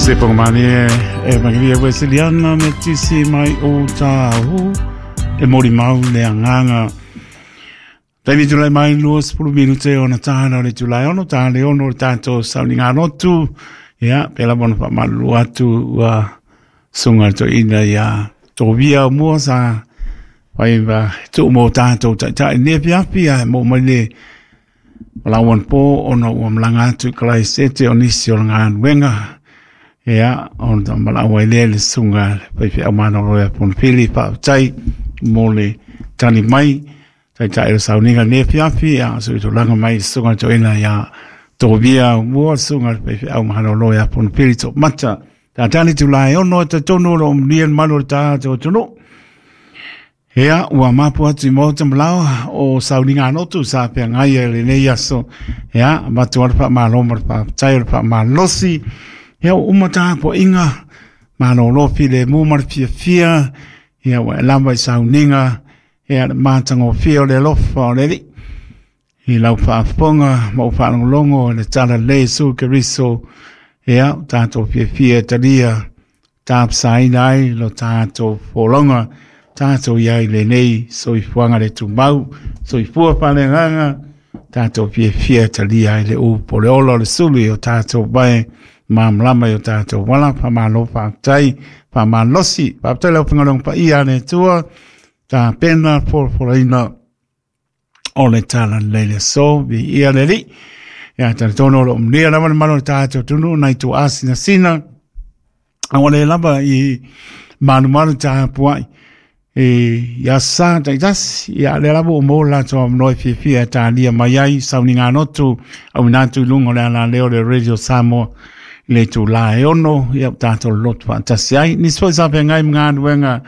Se pongmani e mangiria Weseliana me tisi mai o tāhu e mori mau le anganga. Taimi tulai mai 20 minute ona tāna o le tulai ono, tā le ono le tātou sauniga lotu. Ia, pela bona whamalulu atu ua sunga to ina ia tō via o mua sa whai wa tuu mō tātou taitai ne piapi a mō mai le malawan pō ona ua malanga atu i kalai sete o nisi o ngā nuenga. Ia, ona ta malawa i lea le sunga pai whia mana roia pon pili whaatai mō le tani mai taitai o sauniga ne piapi a so i tō mai sunga to ina ia tō via o mua sunga pai whia mana roia pon pili tō mata. Tā tani tu lai ono te tonu ro mnian manu tā tō tonu. Ea, ua mapu atu i mōta malawa o sauniga anotu sa pea ngai e le nei aso. Ea, matu ara pa maloma pa tai ara pa malosi. Ea, o umata po inga malo lopi le mu mar fia fia. Ea, ua e lava i sauniga. Ea, le mātanga o fia o le lofa o le li. I lau whaafonga, ma o whaalongolongo, le tala le su keriso. Ea, tātou fia fia talia, tāpsaina ai lo tātou fōlonga, tātou iai le nei, soifuaga le tumau, soifua faaleagaga, tātou fiafia talia ai le upu o le ola o le sulu i o tātou vae malamalama i o tātou vala, faamalo faafetai, faamalosi, faafetai le aufaigaluega paia a le Atua, tapena folafolaina o le tala lelei le aso, viia le Alii. Ia talitonu o loo manuia lava le malo o le tātou atunuu nai tuaasinasina, aua le lava i malumalu tapuai e ia sa taitasi ia le lava o mo latou avanoa e fiafia e talia mai ai sauniga lotu auina atu i luga o le alaleo o le Radio Samoa i le itulā e 6 ia ua tatou lolotu faatasi ai. Nisi foi sa feagai ma galuega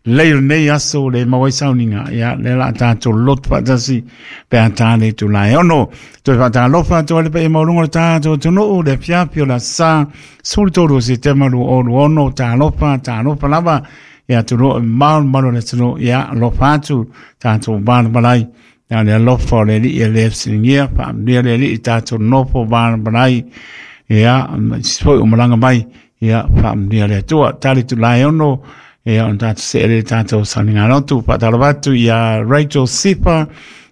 lelei o lenei aso le maua ai sauniga ia lea la tatou lolotu faatasi pe a tā le itulā e 6. Toe faatalofa atu ai le paia maualuga o le tatou atunuu le afiafi o le aso Sa 13 o Setema 2026. Talofa, talofa lava ia atunuu e mamao le mamalu o le atunuu ia alofa atu tatou valavalai. Ia le alofa o le Alii e le fesiligia, faamanuia le Alii i tatou nofo valavalai. Ia, ma isi foi o malaga mai, ia faamanuia le Atua. Tali itulā e 6, ia ona tatou see lea i le tatou sauniga lotu. Faatalofa atu ia Rachel Sifa,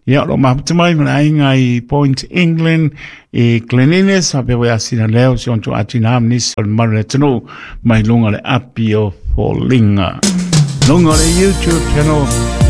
ia o loo mafuta mai ma le aiga i Point England i Glen Innes, faapea foi Asina Leo, si ona tuuatina ma nisi o le mamalu o le atunuu mai luga o le api o Foliga. Luga o le YouTube channel.